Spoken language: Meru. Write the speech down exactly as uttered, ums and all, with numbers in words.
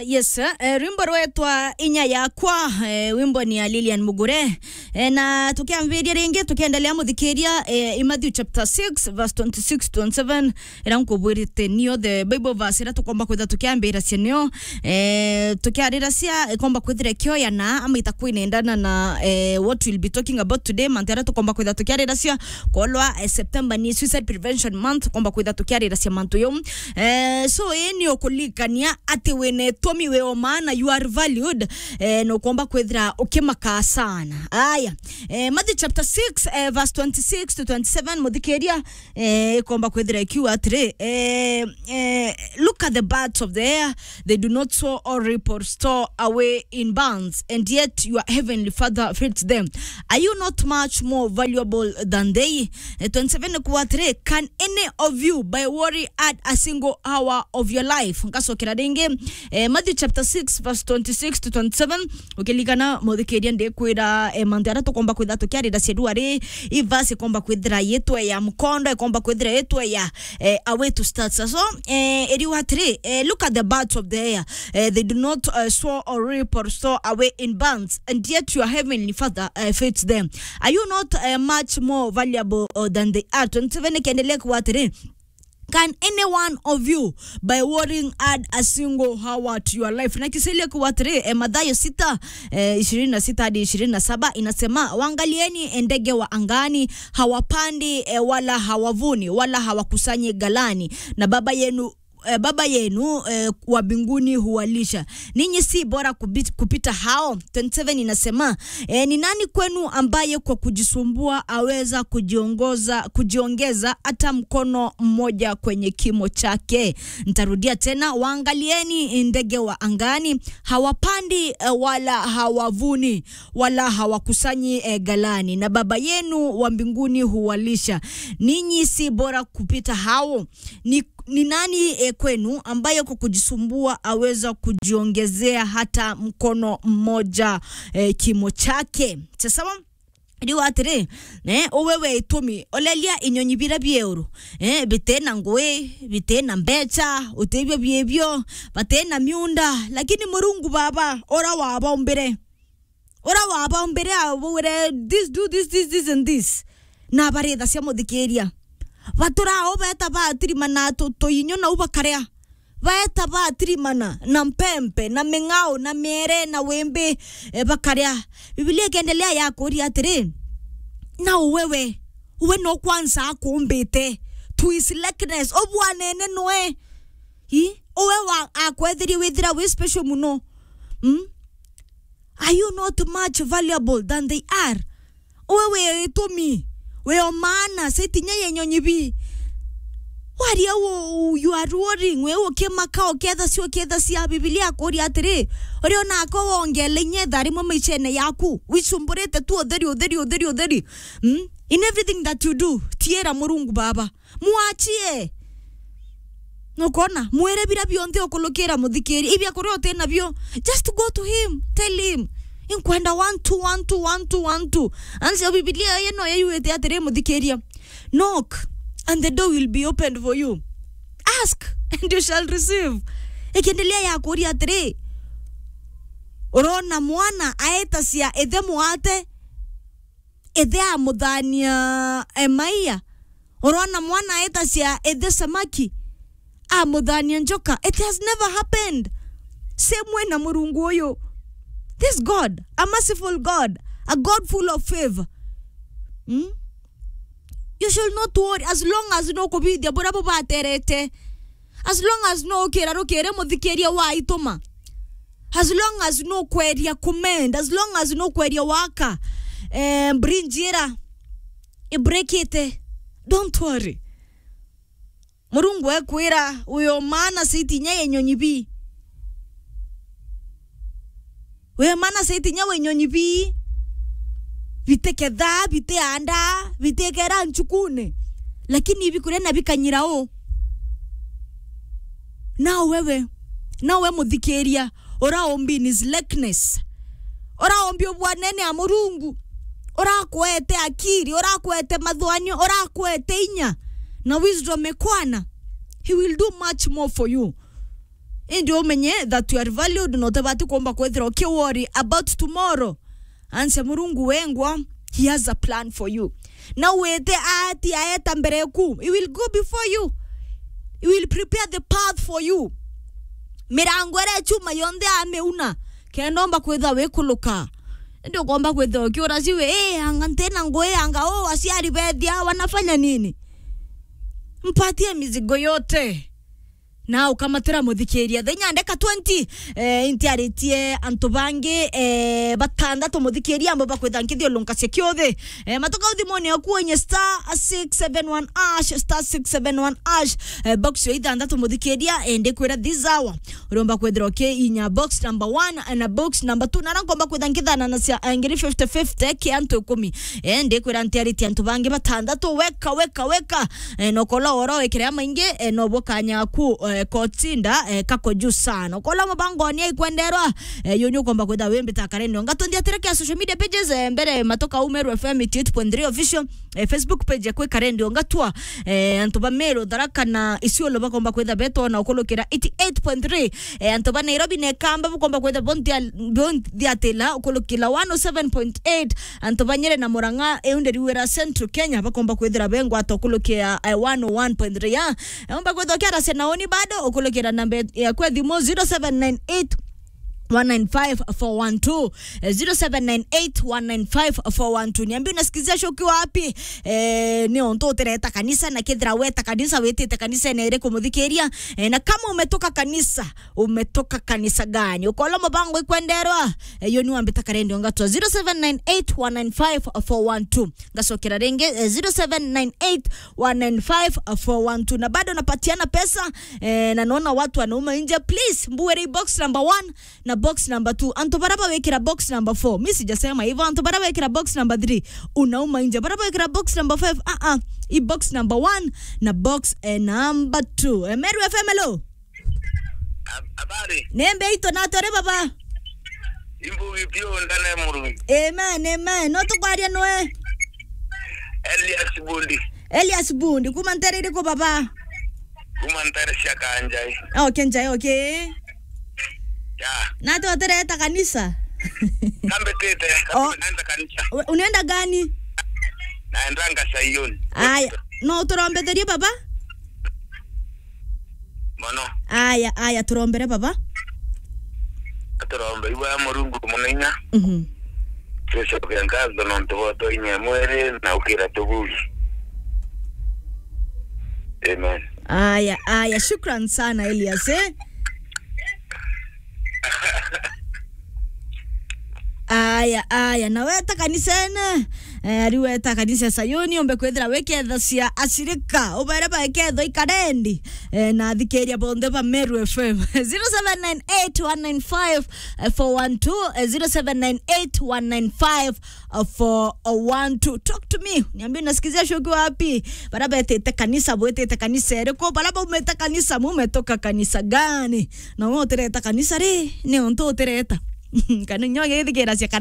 Yes, eh, rwimbo rwetwa Inya Yakwa, eh, wimbo ni ya Lilian Mugure. Eh, na tukiambiria ringi, tukiendelea muthikiria, eh, i Matthew chapter six, verse twenty-six, twenty-seven, ira nkubwirite nio the Bible verse ira tukomba kwitha tukiambiracia nio, eh, tukiariracia ikomba kwithira ikioyana ama itakwinendana na, eh, what we'll be talking about today, mantu aria tukomba kwitha tukiariracia, kolwa, eh, September ni Suicide Prevention Month, tukomba kwitha tukiariracia mantu jau. Eh, so, ii ni ukulikania ati wina itumi, wi o maana, you are valued, eh, na ukomba kwithira ukimaka sana. Aya, eh, Matthew chapter six, eh, verse twenty-six to twenty-seven, muthikiria, eh, ikomba kwithira ikiuga atiri, eh, eh, "Look at the birds of the air, they do not sow or reap or store away in barns, and yet your heavenly Father feeds them. Are you not much more valuable than they?" Eh, twenty-seven ikuuga atiri, "Can any of you, by worry, add a single hour of your life?" Ngacokera ringi, eh, Matthew chapter six, verse twenty-six to twenty-seven. Ukilikana, muthikiria, ndikwira, eh, mantu aria tukomba kwitha tukiarira ciaru ari, i verse ikomba kwithira yitwe ya mkondo, ikomba kwithira yitwe ya, eh, a way to start. So, eh, iriuga atiri, eh, "Look at the birds of the air. Eh, they do not, eh, sow or reap or store away in barns, and yet your heavenly Father, eh, feeds them. Are you not, eh, much more valuable, uh, than they are?" Twenty-seven ikiendelea kuuga atiri, "Can any one of you, by worrying, add a single hour to your life?" Na kiselia kuuga atiri, eh, Mathayo sita, eh, ishirini na sita hadi ishirini na saba inasema, "Waangalieni ndege wa angani, hawapandi, eh, wala hawavuni, wala hawakusanyi ghalani, na Baba yenu, eh, Baba yenu, eh, wa mbinguni huwalisha. Ninyi si bora kubi-, kupita hao?" Twenty-seven inasema, eh, "Ni nani kwenu ambaye kwa kujisumbua aweza kujiongoza, kujiongeza hata mkono mmoja kwenye kimo chake?" Ntarudia tena, "Waangalieni ndege wa angani, hawapandi, eh, wala hawavuni, wala hawakusanyi, eh, ghalani, na Baba yenu wa mbinguni huwalisha. Ninyi si bora kupita hao? Ni, ni nani, eh, kwenu ambaye kwa kujisumbua aweza kujiongezea hata mkono mmoja, eh, kimo chake?" Sasa, riu atiri, eh, uwe wi itumi, olelia inyonyi bira bieuru, eh, bitina ngui, bitina mbecha, utibio biebio, batina miunda, lakini Murungu Baba, ura wabombire, ura wabombire, abwire, "This, do this, this, this and this." Na barithacia, muthikiria. Batura o beta batirimana tu-, tuinyo nau bakaria. Beta batirimana na mpempe, na ming'ao, na miere, na wimbi, eh, bakaria. Biblia ikiendelea ya kuuria atiri, "Na uwe we, uwe no kwanza akumbite to his likeness, ubwanene nwe?" I, uwe wa, akwetherie withira wi special muno. Mm? Are you not much valuable than they are? Uwe wi itumi, wi o maana, saiti inya ya inyonyi bi. Waria u, u, you are worrying, wi ukimaka, ukiethacia, ukiethacia. Biblia akuuria atiri, uri ona ako wongele inya ithaa rimwe maishene yaku, wicumburite tu utheri, utheri, utheri, utheri. Mm? In everything that you do, tiira Murungu Baba. Mwachie. Nukona? Mwire bira bionthe ukulukira, muthikiri. Ibia kuria utina bio, just go to him. Tell him, "Inkwenda one, two, one, two, one, two, one, two." Ansi Biblia yeno yayuite atiri, muthikiria, "Knock, and the door will be opened for you. Ask, and you shall receive." Ikiendelea ya kuuria atiri, urona mwana aetacia ithe mwate, ithe amuthania, eh, maia. Urona mwana aetacia ithe samaki, amuthania njoka. It has never happened. Same way na Murungu uyu. This God, a merciful God, a God full of favor. Hmm? You should not worry as long as no kubithia buria bubaterete. As long as no ukira rukiri, muthikiria, waituma. As long as no kweria kumend, as long as no kweria waka, eh, bridge ira ibreakite, don't worry. Murungu ekwira, "Uyo maana saiti inya ya inyonyi bi." We mana saiti inya we inyonyi bi, bitiketha, bitianda, bitikera nchukune, lakini bikuria na bikanyira u. Nao wewe, nao we muthikiria, uraombi in his likeness, uraombi ubwanene a Murungu, urakwete akiri, urakwete mathwanio, urakwete inya na wisdom ekwana, he will do much more for you. Indi umenye that you are valued, na utibati kuumba kwithira uki worry about tomorrow. Anse Murungu wengwa, he has a plan for you. Na wite ati aeta mbere eku, he will go before you. He will prepare the path for you. Mirango iria ya chuma yonthe amiuna, kenda umba kwithira wikuluka. Indi ukomba kwithira ukiura ciwe, "Eh, anga ntina ngui, anga, oh, aciari bethia, wanafanya nini?" Mpatie mizigo yote. Na ukamatira muthikiria. Thenya ndeka twenty, eh, intiaritie antu bangi, eh, batandatu muthikiria, ambo bakwitha nkithiulunkacia kiuthi. Eh, matuka uthimone oku onye star six seven one hash, star six seven one hash, eh, box yo ithandatu muthikiria, eh, ndikwira this hour. Uromba kwithira uki inya box number one, eh, na box number two. Nara nkomba kwitha nkithana na cia, eh, ngiri fifty fifty ki antu ikumi. Eh, ndikwira ntiaritie antu bangi batandatu, weka, weka, weka. Eh, nokola oro wekere amaingi, eh, nobo kanya ku, eh, kotinda, eh, kako juu sana. Okola mabangoni aikwenderwa, eh, yo ni ukomba kwitha wimbita karendio. Ngatondia tere kia social media pages, eh, mbere matoka Umeru F M eighty-eight point three official, eh, Facebook page ya Kwika Rendio. Ngatwa, eh, antu ba Meru, Tharaka na Isiolo bakomba kwitha betona ukulukira eighty-eight point three. Eh, antu ba Nairobi na Ekamba bukomba kwitha bonthia-, bonthiatila ukulukila one oh seven point eight. Antu ba Nyeri na Murang'a, eu ndiriwira Central Kenya, bakomba kwithira bengwata ukulukia, eh, one oh one point three, ya. Eumba kwithwa kiarase na uni bado, ukulukira namba ya kwa thimu zero seven nine eight one nine five four one two, eh, zero seven nine eight one nine five four one two. Niambie unasikizia show ukiwa wapi? Eh, ni onto utereta kanisa, na kithira weta kanisa, witite kanisa ene iriku muthikiria? Eh, na kama umetoka kanisa, umetoka kanisa gani? Ukola mubango ikwenderwa, eh, yo ni wambita karendio ngatwa zero seven nine eight one nine five four one two. Ngacokera ringi, eh, zero seven nine eight one nine five four one two. Na bado napatiana pesa, eh, na naona watu wanauma nje. Please, mbuere box number one na box number two. Antu bara bawikira box number four, mi sijasema hivyo. Antu bara bawikira box number three, unauma nje. Bara bawikira box number five, ah, ah, i box number one na box, eh, number two. Eh, Meru F M, hello. Hab-, habari? Nembe ito na tore baba. Imbugi pio ndane Murungi. Amen, amen. No tukwaria nwe? Elias Bundi. Elias Bundi, kuma ntere iriku baba? Kuma ntere cia Kanjai. Okay, Njai, okay. Ya. Na tu atereta kanisa? Kambetete, oh, naenda kanisa. U-, unaenda gani? Naendanga Sayuni. Aya, no turombetherie baba? Mono. Aya, aya, turombere baba. Aturombe iwe Murungu munene inya. Mhm. Tucoke ngatho nontu bwa utwainyia mwiri na ukira tubugi. Amen. Aya, aya, shukran sana Elias, eh? Aya, aya, na weta kanisa ene, eh, ari weta kanisa Sayuni, umbe kwithira wikethacia ashirika, ubere baiketho ikarendi, eh, na athikiria bonthe ba Meru F M. Zero seven nine eight one nine five four one two, eh, zero seven nine eight one nine five four one two. Talk to me. Niambie unasikizia show ukiwa wapi? Bara betete kanisa, bwetete kanisa iriku? Bara baumete kanisa, mumetoka kanisa gani? Na wewe utereta kanisa ri, ni ontu utereta. Kana nyo githikira cia